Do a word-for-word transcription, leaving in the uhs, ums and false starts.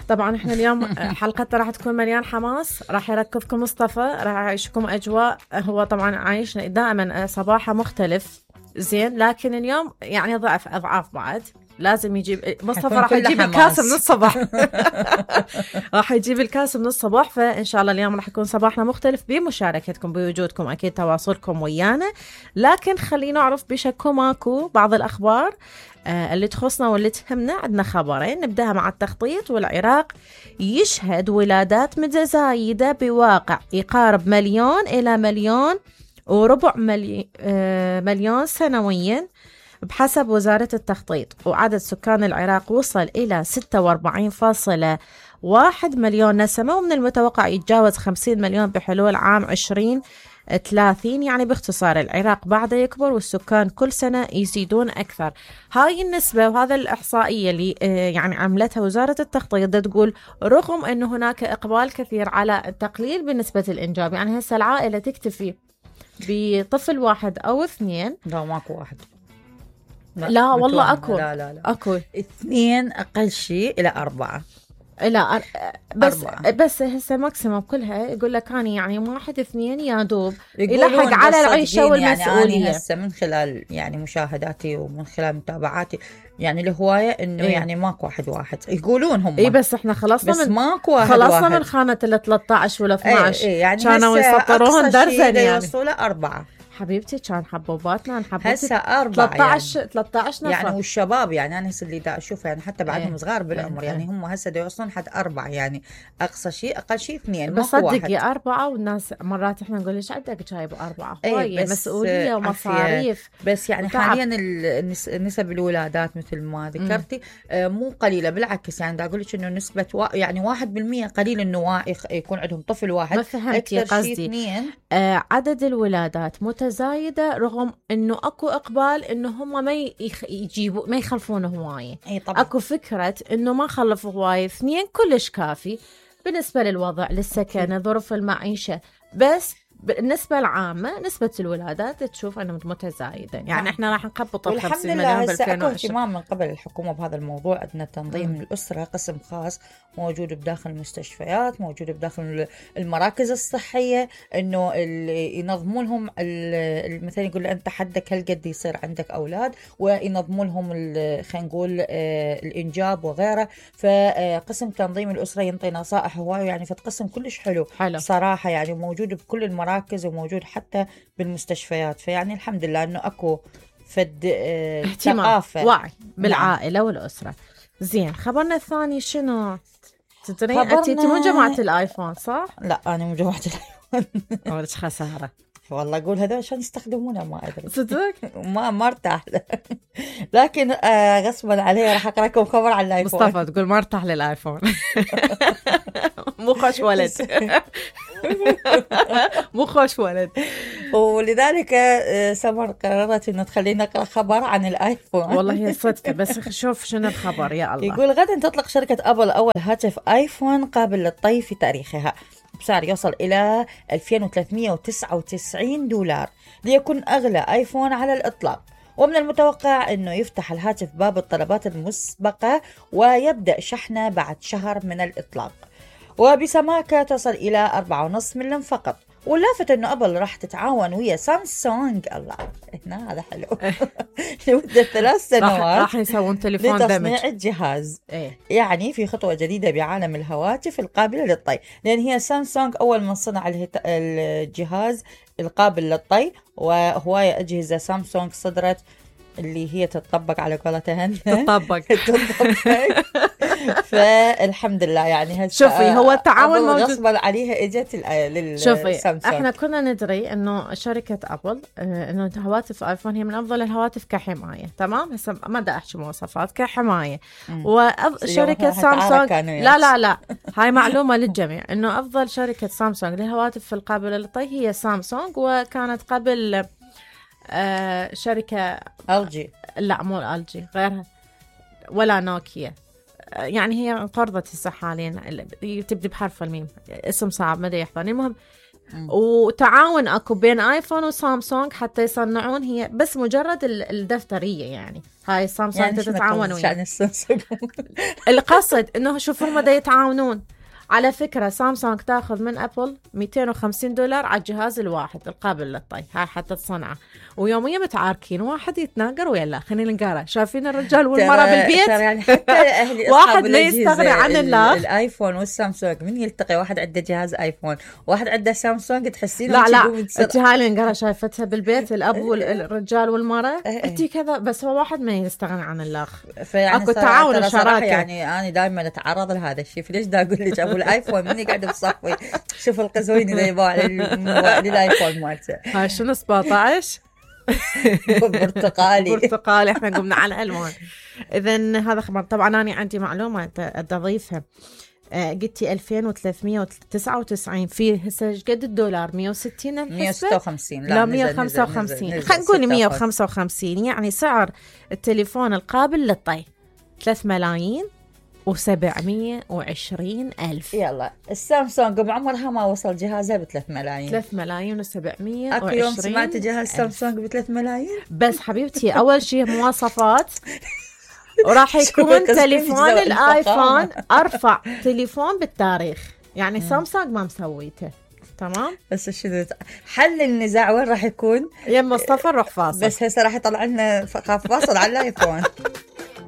طبعا احنا اليوم حلقتنا راح تكون مليان حماس، راح يركضكم مصطفى، راح يعيشكم اجواء. هو طبعا عايشنا دائما صباحه مختلف زين، لكن اليوم يعني ضعف اضعاف بعد. لازم يجيب مصطفى، راح يجيب الكاس من الصباح. راح يجيب الكاس من الصباح. فإن شاء الله اليوم راح يكون صباحنا مختلف بمشاركتكم بوجودكم، أكيد تواصلكم ويانا. لكن خلينا نعرف بشكو ماكو بعض الأخبار آه اللي تخصنا واللي تهمنا. عندنا خبرين، نبدأها مع التخطيط. والعراق يشهد ولادات متزايدة بواقع يقارب مليون إلى مليون وربع ملي... آه مليون سنويا بحسب وزارة التخطيط. وعدد سكان العراق وصل إلى ستة وأربعين فاصلة واحد مليون نسمة، ومن المتوقع يتجاوز خمسين مليون بحلول عام عشرين ثلاثين. يعني باختصار العراق بعد يكبر والسكان كل سنة يزيدون أكثر. هاي النسبة وهذا الإحصائية اللي يعني عملتها وزارة التخطيط تقول رغم أن هناك إقبال كثير على التقليل بنسبة الإنجاب. يعني هسه العائلة تكتفي بطفل واحد أو اثنين. لا ماكو واحد، لا, لا والله أكو. لا لا لا أكو اثنين أقل شيء إلى أربعة. لا أر... بس أربعة. بس هسه ماكسيموم كلها يقول لك أنا يعني واحد اثنين يا دوب يلحق على العيشة والمسؤولية. يعني هسه من خلال يعني مشاهداتي ومن خلال متابعاتي يعني الهواية إنه إيه؟ يعني ماكو واحد واحد يقولون هم. إيه بس إحنا خلصنا بس من ماكو واحد خلصنا واحد. من خانة ال ثلاثة عشر ولا اثنا عشر. إيه إيه يعني كانوا يسطروهن درزن يعني. يوصلوا أربعة. حبيبتي كان حبوباتنا نحبوبتي هسه أربعة ثلاثة عشر يعني. ثلاثة عشر نفر يعني والشباب يعني أنا هسه اللي دا أشوفه يعني حتى بعدهم ايه صغار بالعمر ايه يعني ايه. هم هسه دا يوصلون حد أربعة يعني أقصى شيء أقل شيء اثنين. بس صدقي أربعة، والناس مرات إحنا نقول ليش عندك جايب أربعة؟ هواية ايه مسؤولية ومصاريف. بس يعني وتعب. حاليا نسب الولادات مثل ما ذكرتي آه مو قليلة، بالعكس يعني دا أقول لك إنه نسبة وا يعني واحد بالمية قليل إنه يكون عندهم طفل واحد. ما فهمتي قصدي. آه عدد الولادات متزايدة رغم إنه أكو إقبال إنه هم ما يجيبوا ما يخلفون هواية. أكو فكرة إنه ما خلفوا هواية، اثنين كلش كافي بالنسبة للوضع للسكن ظروف المعيشة. بس بالنسبة العامة نسبة الولادات تشوف أنها متزايدة. يعني إحنا راح نخبط ال خمسين مليون بالألفين وعشرين. اهتمام من قبل الحكومة بهذا الموضوع. عندنا تنظيم مم. الأسرة، قسم خاص موجود بداخل المستشفيات، موجود بداخل المراكز الصحية، إنه ينظموا لهم مثلا يقول أنت حدك هل قد يصير عندك أولاد، وينظموا لهم خلينا نقول الإنجاب وغيره. فقسم تنظيم الأسرة ينطي نصائح هواي يعني، فقسم كلش حلو, حلو صراحة يعني، موجود بكل المراكز وموجود حتى بالمستشفيات. فيعني الحمد لله انه اكو فد اه ثقافه وعي بالعائله نعم. والاسره. زين خبرنا الثاني شنو؟ تدرين انت مو جماعه الايفون صح؟ لا انا مو جماعه الايفون. ولك خساره والله اقول هذول عشان يستخدمونه ما ادري صدق ما ما ارتاح لكن آه غصبا علي راح اقرا لكم خبر على الايفون. مصطفى تقول ما ارتاح للايفون. مو خوش ولد. مو خوش ولد. ولذلك سمر قررت انه تخلينا نقرا خبر عن الايفون. والله هي صدفه بس شوف شنو الخبر يا الله. يقول غدا تطلق شركه ابل اول هاتف ايفون قابل للطي في تاريخها بسعر يوصل إلى ألفين وثلاثمئة وتسعة وتسعين دولار، ليكون أغلى آيفون على الإطلاق. ومن المتوقع أنه يفتح الهاتف باب الطلبات المسبقة ويبدأ شحنه بعد شهر من الإطلاق، وبسماكة تصل إلى أربعة ونصف ملم فقط. واللافت أنه أبل راح تتعاون ويا سامسونج، الله هنا هذا حلو، لمدة ثلاث سنوات راح يسوون تليفون دمج لتصنيع الجهاز. إيه؟ يعني في خطوة جديدة بعالم الهواتف القابلة للطي، لأن هي سامسونج أول من صنع الجهاز القابل للطي، وهواية أجهزة سامسونج صدرت اللي هي تتطبق على قولتها تطبق تطبق. فالحمد لله يعني شوفي هو التعاون موجود غصبا عليها اجت للسامسونج. احنا كنا ندري انه شركه ابل انه هواتف ايفون هي من افضل الهواتف كحمايه، تمام؟ هسه ما بدي احكي مواصفات كحمايه. وشركه سامسونج لا لا لا هاي معلومه للجميع انه افضل شركه سامسونج للهواتف القابله للطي هي سامسونج، وكانت قبل آه شركة ال جي، لا مو ال جي غيرها، ولا نوكيا. آه يعني هي انقرضت هسه حاليا، تبدي بحرف الميم، اسم صعب ما ادري يحضرني. المهم وتعاون اكو بين ايفون وسامسونج حتى يصنعون، هي بس مجرد الدفترية يعني. هاي سامسونج يعني تتعاون وياه. السامسونج القصد انه شوفوا هم دا يتعاونون. على فكرة سامسونج تاخذ من ابل مئتين وخمسين دولار على الجهاز الواحد القابل للطي، هاي حتى تصنعه، ويوميا متعاركين، واحد يتناقر ويا لا. خلينا نقرا، شايفين الرجال والمرأة بالبيت يعني حتى اهلي واحد ما يستغني عن الله. الايفون والسامسونج من يلتقي، واحد عنده جهاز ايفون واحد عنده سامسونج، تحسين لا لا انت هاي اللي نقرا شايفتها بالبيت الاب والرجال والمرأة انت كذا، بس هو واحد ما يستغني عن الله. اكو تعاون وشراكة. يعني انا دائما اتعرض لهذا الشيء، فليش دا اقول لك ابو الايفون مني قاعد بصفي شوف القزوين اللي يباع للايفون مالته. هاي شنو سبعطعش برتقالي برتقالي، احنا قمنا على الالوان. اذا هذا خبر. طبعا انا عندي معلومه اضيفها. آه قلتي ألفين وثلاثمئة وتسعة وتسعين، في هسه ايش قد الدولار؟ مئة وستين الحسبة؟ مئة وستة وخمسين. لا مئة وخمسة وخمسين، خلينا نقول مئة وخمسة وخمسين. يعني سعر التليفون القابل للطي ثلاثة ملايين وسبعمية وعشرين ألف. يلا السامسونج بعمرها ما وصل جهازها بثلاث ملايين. ثلاث ملايين وسبعمية وعشرين. أكو يوم سمعت جهاز سامسونج بثلاث ملايين. بس حبيبتي أول شيء مواصفات، وراح يكون تليفون الآيفون أرفع تليفون بالتاريخ، يعني سامسونج ما مسويته. تمام. بس شنو حل النزاع وين راح يكون؟ يا مصطفى نروح فاصل. بس هسه راح يطلع لنا فاصل على الآيفون.